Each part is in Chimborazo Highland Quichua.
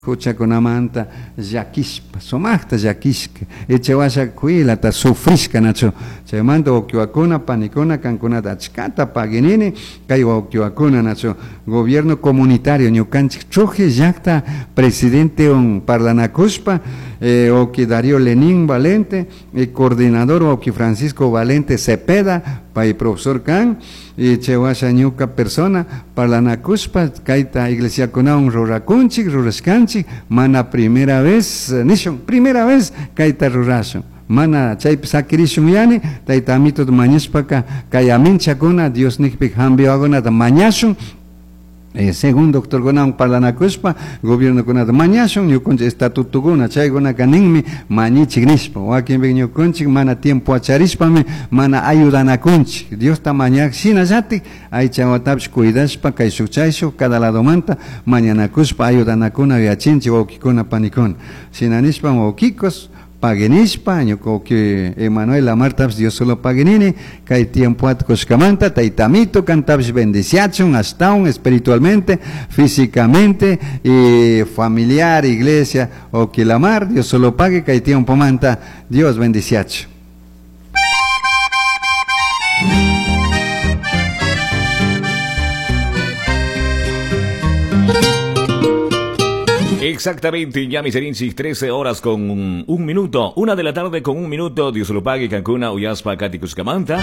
Huchakunamanta llakishpa, sumaqta llakishka, ichawasha kuylata sufrishka nachu. Chaymanta wawqiwakuna, panikuna, kankunata achkata paginini, kay wawqiwakuna nachu. Gobierno comunitario ñukanchik Trujillo llaqta presidentewan parlanakushpa, wawqi Darío Lenín Valente, coordinador wawqi Francisco Valente Cepeda, pay profesor kan, y chaywasha ñuka persona parlanakushpa kayta iglesiakunawan rurakunchik, rurashkanchik, mana primera vez nishun, primera vez kayta rurashun. Mana chaypi sakirishun yani, tayta amituta mañashpaka kay aminchakuna Dios nikpi hambiwakunata mañashun. Según doctorkunawan parlanakushpa gobiernokunata mañashun ñukunchik estatutokuna chaykunaka ninmi mañichik nishpa wakinpi ñukunchik mana tiempo acharishpami mana ayudanakunchik Diosta mañak shinallatik aychawatapish cuidashpa kayshuk chayshuk cada ladomanta mañanakushpa ayudanakuna yuyachinchik wawkikuna panikuna shina nishpa wawkikos paguinishpa ñuka wawki Emanuel Lamartapish Dios solo paguinini kay tiempoata kushkamanta tayta amito kantapish bendiciachun ashtawan espiritualmente, físicamente y familiar, iglesia, wawki Lamar, Dios solo pague kay tiempomanta Dios bendiciachun. Exactamente, ya mis erinchis, 13 horas con un minuto, 1 de la tarde con 1 minuto, Dios lo pague, Cancún, Uyaspa, Caticushcamanta,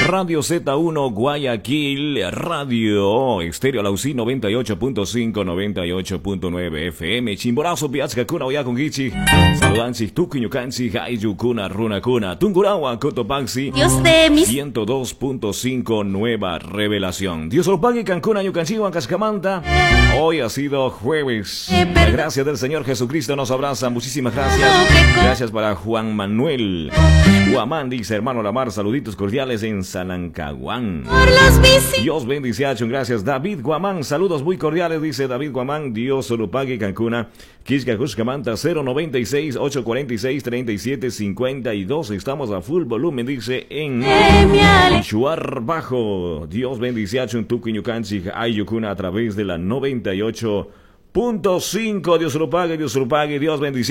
Radio Z1, Guayaquil, Radio Estéreo Laucí, 98.5, 98.9 FM, Chimborazo, Piazca, Cuna, Oyaconguichi, Saludanchi, Tuquiñucanchi, Jayucuna, Runacuna, Tungurahua, Cotopaxi, Dios de mis 102.5, Nueva Revelación. Dios lo pague, Cancún, Ayucanchi, Huancascamanta. Hoy ha sido jueves. La gracia del Señor Jesucristo nos abraza. Muchísimas gracias. Gracias para Juan Manuel Guamán, dice hermano Lamar, saluditos cordiales en Salancaguán. Dios bendice a Gracias, David Guamán, saludos muy cordiales, dice David Guamán. Dios lo pague, Cancuna. Quisca Cuscamanta, 096 846 37 52. Estamos a full volumen, dice en Shuar Bajo. Dios bendice a Tuquiñucanchi, Ayucuna a través de la 98.5. Dios lo pague, Dios lo pague, Dios bendice.